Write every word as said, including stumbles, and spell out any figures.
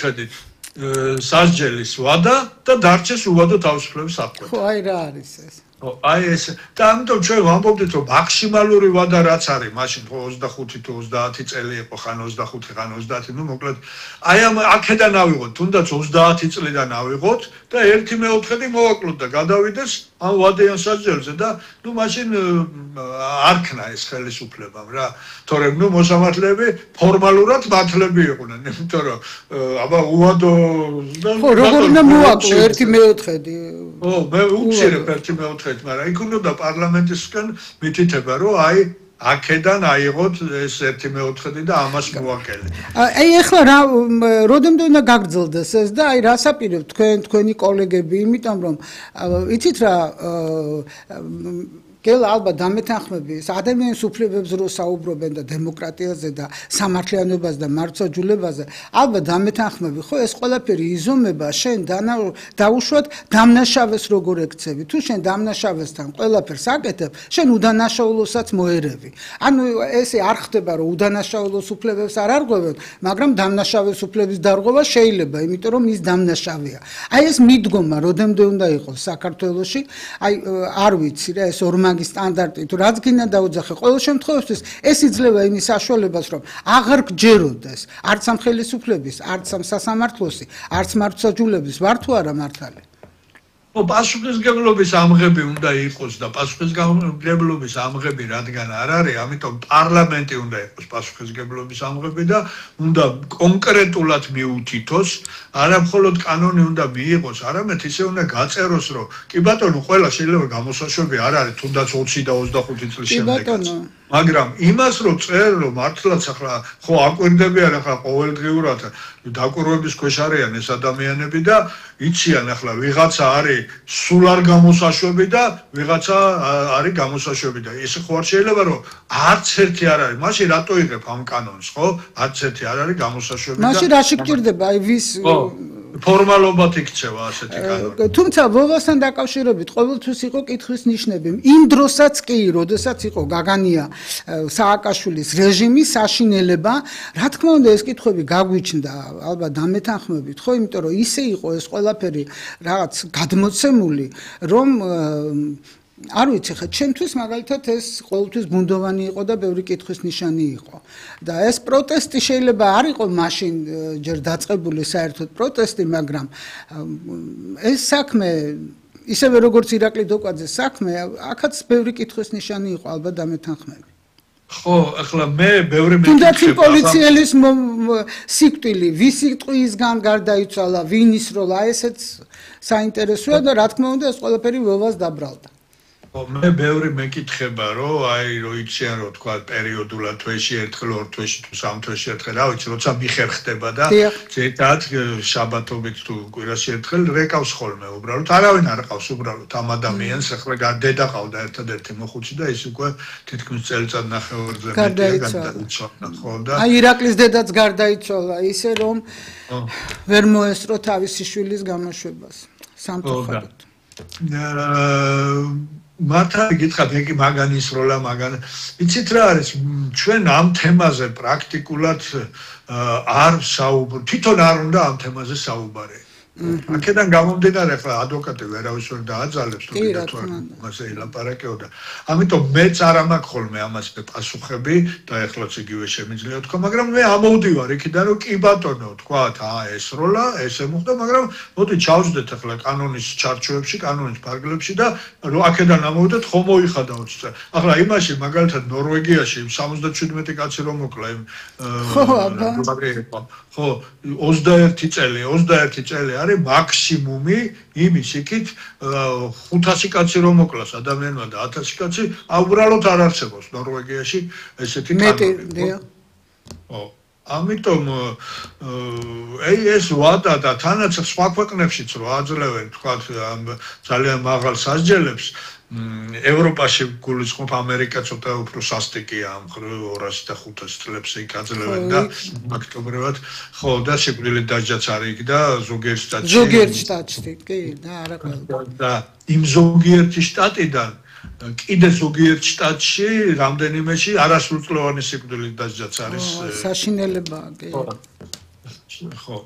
მიუხედით სასჯელის ვადა და დარჩეს უვადო თავისუფლების საფრთხე. ხო, აი რა არის ეს? აი ეს და ამიტომ ჩვენ ვამბობდით რომ მაქსიმალური ვადა რაც არის მაშინ ხო ოცდახუთი თუ ოცდაათი წელი იყო ხან ოცდახუთი ხან ოცდაათი ნუ მოკლედ აი ამ აქედან ავიღოთ თუნდაც ოცდაათი წლიდან ავიღოთ და ერთი მეოთხედი მოვაკლოთ და გადავიდეს ამ ვადიან სასჯელზე და ნუ მაშინ არ ქნა ეს ხელისუფლებამ რა თორემ ნუ მოსამართლეები ფორმალურად მართლები იყვნენ იმიტომ რომ აბა უვადო ხო როგორ უნდა მოვაკლო ერთი მეოთხედი ო მე უცირებ ერთი მეოთხედი მაგრამ იქ უნდა პარლამენტისგან მითითება რომ აი აქედან აიღოთ ეს ერთი მეოთხედი და ამას მოვაკელე. აი ეხლა რა როდემდე უნდა გაგრძელდეს ეს და აი რას აპირებთ თქვენ თქვენი კოლეგები იმიტომ რომ იცით რა გელა ალბათ დამეთანხმები ადამიანის უფლებებს რო საუბრობენ და დემოკრატიაზე და სამართლიანობაზე და მართლმსაჯულებაზე ალბათ დამეთანხმები ხო ეს ყველაფერი იზომება შენ დაუშვათ დამნაშავეს როგორ ექცევი თუ შენ დამნაშავესთან ყველაფერს აკეთებ შენ უდანაშაულოსაც მოერევი ანუ ესე არ ხდება რომ უდანაშაულოს უფლებებს არ არღვევენ მაგრამ დამნაშავეს უფლების დარღვევა შეიძლება იმიტომ რომ ის დამნაშავეა აი ეს მიდგომა როდემდე უნდა იყოს საქართველოში აი არ ვიცი რა ეს ორმაგი სტანდარტი თუ რაც გინდა დაუძახე ყოველ შემთხვევაში ეს იძლევა იმის საშუალებას რომ აღარ გჯეროდეს არც ამ ხელისუფლების არც ამ სასამართლოსი არც მართლმსაჯულების ვარ თუ არა მართალი ო პასუხისმგებლობის ამღები უნდა იყოს და პასუხისმგებლობის ამღები რადგან არ არის ამიტომ პარლამენტი უნდა იყოს პასუხისმგებლობის ამღები და უნდა კონკრეტულად მიუთითოს არა მხოლოდ კანონი უნდა მიიღოს არამედ ისე უნდა გაწეროს რომ კი ბატონო ყველა შეიძლება გამოსაშვები არ არის თუნდაც ოცი და ოცდახუთი წლის შემდეგაც მაგრამ იმას რომ წერ რომ მართლაც ახლა ხო აკვირდებიან ახლა ყოველდღიურად დაკვირვების ქვეშ არიან ეს ადამიანები და იციან ახლა ვიღაცა არის სულ არ გამოსაშვები და ვიღაცა არის გამოსაშვები და ეს ხო არ შეიძლება რომ არც ერთი არ არის მაშინ რატო იღებ ამ კანონს ხო არც ერთი არ არის გამოსაშვები და მაშინ რაში გჭირდება აი ვის ფორმალობად იქცევა ასეთი კანონი. თუმცა ვოვასთან დაკავშირებით ყოველთვის იყო კითხვის ნიშნები. იმ დროსაც კი, როდესაც იყო გაგანია სააკაშვილის რეჟიმი, საშინელება, რა თქმა უნდა ეს კითხვები გაგვიჩნდა, ალბათ დამეთანხმებით, ხო, იმიტომ რომ ისე იყო ეს ყველაფერი რაღაც გადმოცემული, რომ არ ვიცი ხა ჩემთვის მაგალითად ეს ყოველთვის ბუნდოვანი იყო და ბევრი კითხვის ნიშანი იყო და ეს პროტესტი შეიძლება არ იყო მაშინ ჯერ დაწყებული საერთოდ პროტესტი მაგრამ ეს საქმე ისევე როგორც ირაკლი დოკვაძეს საქმე აქაც ბევრი კითხვის ნიშანი იყო ალბათ დამეთანხმები ხო ახლა მე ბევრი მე თუნდაც პოლიციელის სიკვდილი ვის სიტყვისგან გარდაიცვალა ვინის როლა ესეც საინტერესოა და რა თქმა უნდა ეს ყველაფერი ვოვას დაბრალდა მე ბევრი მეკითხება რომ აი რო იციან რომ თქვა პერიოდულად თვეში ერთხელ ორ თვეში თუ სამ თვეში ერთხელ რა ვიცი როცა მიხერხდება და ზედათ შაბათობით თუ კვირაში ერთხელ რეკავს ხოლმე უბრალოდ არავინ არ ყავს უბრალოდ ამ ადამიანს ახლა დედა ყავდა ერთადერთი მოხუცი და ის უკვე თითქმის წელიწად ნახევარზე გარდაიცვალა ხო და აი ირაკლის დედაც გარდაიცვალა ისე რომ ვერ მოესწრო თავისი შვილის გამოშვებას სამწუხაროდ მართალი გითხრათ იგი მაგანის როლა მაგან იცით რა არის ჩვენ ამ თემაზე პრაქტიკულად არ საუბრობთ თვითონ არ უნდა ამ თემაზე საუბარი აქედან გამომდინარე ახლა ადვოკატი ვერავის ვერ დააძალებს თუ კიდე თუ მასე ილაპარაკეოდა ამიტომ მეც არ ამაქვს ხოლმე ამაზე პასუხები და ეხლაც იგივე შემიძლია თქვა მაგრამ მე ამოვდივარ იქიდან რომ კი ბატონო თქვათ აა ეს როლა ესე მოხდა მაგრამ მოდი ჩავждდეთ ახლა კანონის ჩარჩოებში კანონის ფარგლებში და რომ აქედან ამოვიდეთ ხომ მოიხადაოთ ახლა იმაში მაგალითად ნორვეგიაში სამოცდაჩვიდმეტი კაცი რომ მოკლა იმ ხო ოცდაერთი წელი ოცდაერთი წელი არის მაქსიმუმი იმის იქით ხუთასი კაცი რომ მოკლას ადამიანმა და ათასი კაცი უბრალოდ არ არსებობს ნორვეგიაში ესეთი კანონი ხო ამიტომ აი ეს ვადა და თანაც სხვა ქვეყნებშიც რო აძლევენ თქვა ძალიან მაღალ სასჯელებს ევროპაში გულისხმობ ამერიკა ცოტა უფრო სასტიკია ამ ორასი და ხუთასი წლებს იქ აძლევენ და ფაქტობრივად ხო და სიკვდილით დასჯაც არის იქ და ზოგიერთ შტატში ზოგიერთ შტატში კი და არა ყველა და იმ ზოგიერთი შტატიდან კიდე ზოგიერთ შტატში რამდენიმეში არასრულწლოვანი სიკვდილით დასჯაც არის საშინელებაა კი ხო ხო